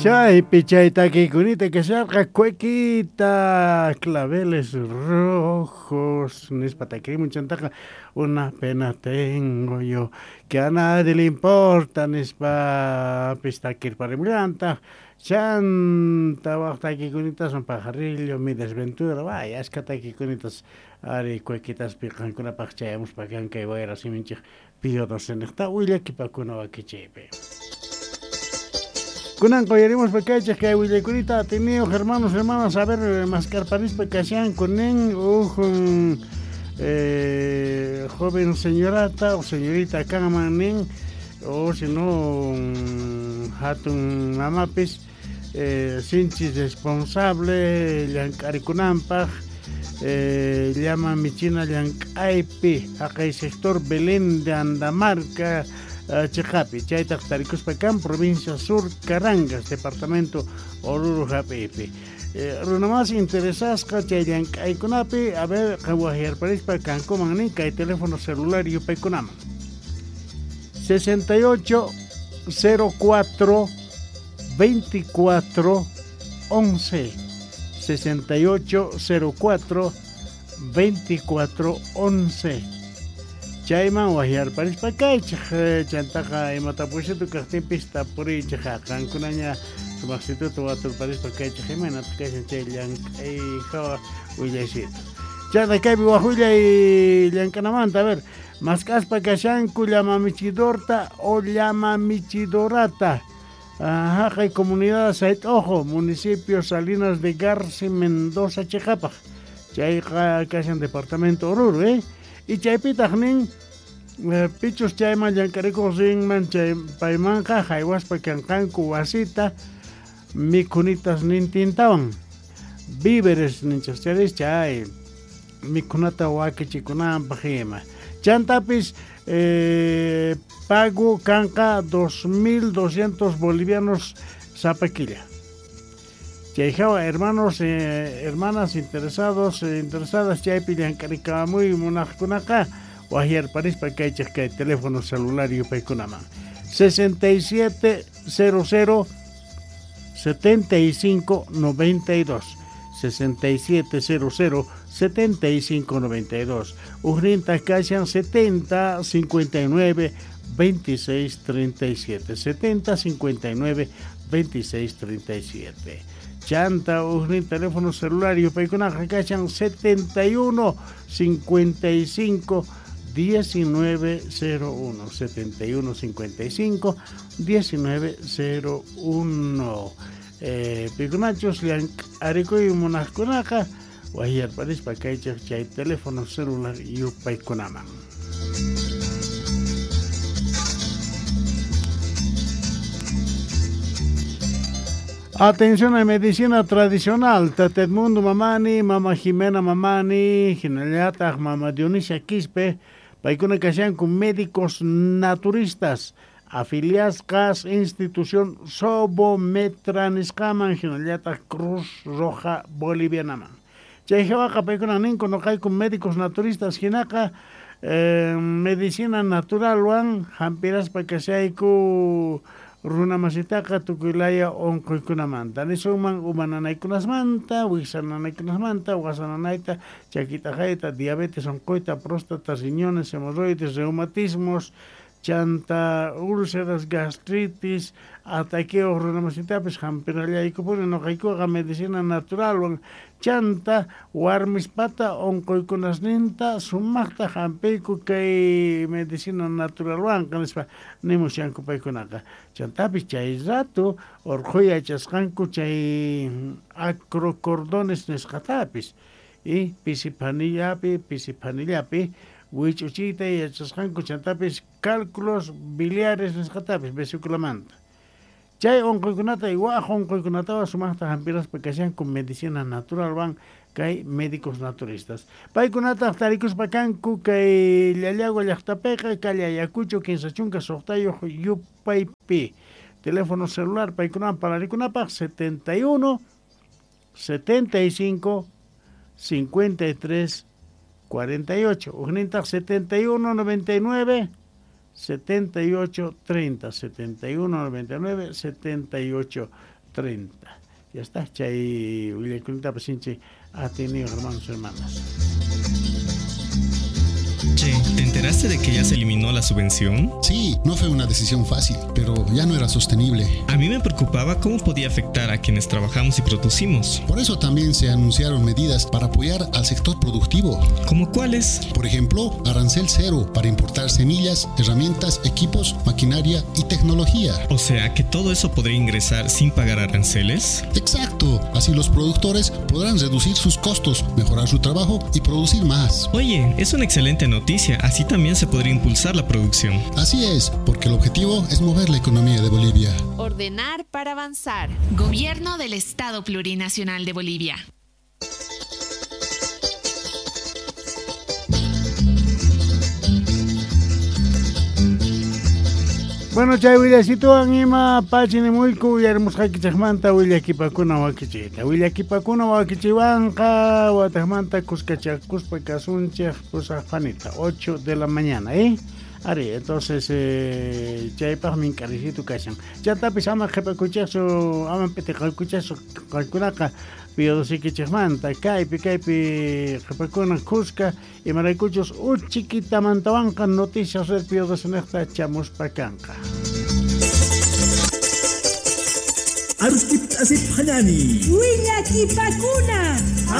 Chaypi chay takiykunita kasharqa cuequita claveles rojos nispa takirimun chantaqa una pena tengo yo que a nadie le importa nispapis takirparimullantaq chanta waj takikunitaswan pajarillo mi desventura vaya ashka takikunitas ari cuequitaspi qankunapaq chayamuspa kan kay wayra siminchik Pío XII willakipakuna wakichiypi. Kunan quyarimuspa kaychik kay willaykunita atiniyuq hermanos hermanas a ver maskarparispa kashanku nin uj joven señorata o señorita kanman nin o si no hatun mamapis sinchi responsable llank'arikunanpaq llama michina llank'aypi haqay sector Belén de Andamarca chiqapi chaytaq tarikuspa kan provincia Sur Carangas departamento Oruro hap'iypi runa más interesasqa chay llank'aykunapi a ver wajyarparispa kankuman nin kay teléfono celular yupaykunaman 68 04 24 11 68 04 24 11 chayman wajyarparispa kaychik chantaqa imatapusitu kaqtinpis tapuriychik qankunaña sumaqsituta waturparispa kaychik imaynataq kashan chay llank'ay hawa willaysitu chanta kaypi waj willay llank'anamanta a ver mask'aspa kashanku llama michidorta o llama michidorata haqay comunidad Sayt'ojo municipio Salinas de Garci Mendoza chiqapaq chayqa kashan departamento Oruro y chaypitaq nin pichus chayman llank'arikuq rinman chay paymanqa haywaspa kanqanku wasita mikhunitas nintintawan víveres ninchik charis chay mikhunata wakichikunanpaq ima chantapis pago kanqa 2.200 bolivianos sapa killa. Chay hawa hermanos hermanas interesados interesadas chaypi llank'arikamuy munaqkunaqa wajyarparispa kaychik kay teléfono celular yupaykunaman 67 00 75 92 67 00 75 92 ujninta kashan 70 59 26 37 70 59 26 37 chanta ujnin teléfono celular yupaykunaqa kashan 71 55 19 01 71 55 19 01 pikunachus llank'arikuy munaqkunaqa wajyarparispa kaychik chay teléfono celular yupaykunaman. Atención a medicina tradicional, Tata Edmundo Mamani, Mama Jimena Mamani, hinallataq Mama Dionisia Quispe, paykuna kashanku médicos naturistas, afiliasqas institución Sobometra nisqaman, hinallataq Cruz Roja Bolivianaman. Chay hawaqa paykuna ninku nuqayku médicos naturistas hinaqa medicina naturalwan hampiraspa kashayku runa masitaqa tukuy laya unquykunamanta nisunman uma nanaykunasmanta, wiksa nanaykunasmanta, wasa nanayta, chakitaqayta, diabetes unquyta, próstata, riñones, hemorroides, reumatismos, chanta úlceras, gastritis, ataqueo runa masitapis hampirallaykupuni nuqaykuqa medicina naturalwan chanta warmispata unquykunasninta sumaqta hampiyku kay medicina naturalwanqa nispa nimushanku paykunaqa chantapis chay rato urquy yachasqanku chay acrocordones nisqatapis y pisipanillapi wich'uchiyta yachasqanku chantapis cálculos biliares nisqatapis vesículamanta chay unquykunata y waj unquykunatawan sumaqta hampiraspa kashanku medicina naturalwan kay médicos naturistas paykunataq tarikuspa kanku kay Llallagua llaqtapiqa calle Ayacucho 36 yupaypi teléfono celular paykunawan pararikunapaq 71 75 53 48 ujnintaq 71 99 78 30 71 99 78 30. Ya está, chay willakuynintapas sinchi atiyniyuq, hermanos, hermanas. Che, ¿te enteraste de que ya se eliminó la subvención? Sí, no fue una decisión fácil, pero ya no era sostenible. A mí me preocupaba cómo podía afectar a quienes trabajamos y producimos. Por eso también se anunciaron medidas para apoyar al sector productivo. ¿Cómo cuáles? Por ejemplo, arancel cero para importar semillas, herramientas, equipos, maquinaria y tecnología. O sea, que todo eso podría ingresar sin pagar aranceles. Exacto, así los productores podrán reducir sus costos, mejorar su trabajo y producir más. Oye, es una excelente noticia, así también se podría impulsar la producción. Así es, porque el objetivo es mover la economía de Bolivia. Ordenar para avanzar. Gobierno del Estado Plurinacional de Bolivia. Bueno, chay willasituwan ima pachinimuyku willamusqaykichikmanta willakipakuna wakichiyta. Willakipakuna wakichiwanqa wataqmanta kuskachakuspa kasunchik pusaq panita, 8 de la mañana, ¿eh? Ari, entonces chaypaq mink'arisitu kashan. Chantapis ama qhipakuchikchu, ama p'itiqakuchikchu qankunaqa piodosikichikmanta kaypi qhipakuna kuska imaraykuchus uchikitamantawanqa noticias red piodosiniqta chamuspa kanqa. Aruskip asip hanani. Willakipakuna.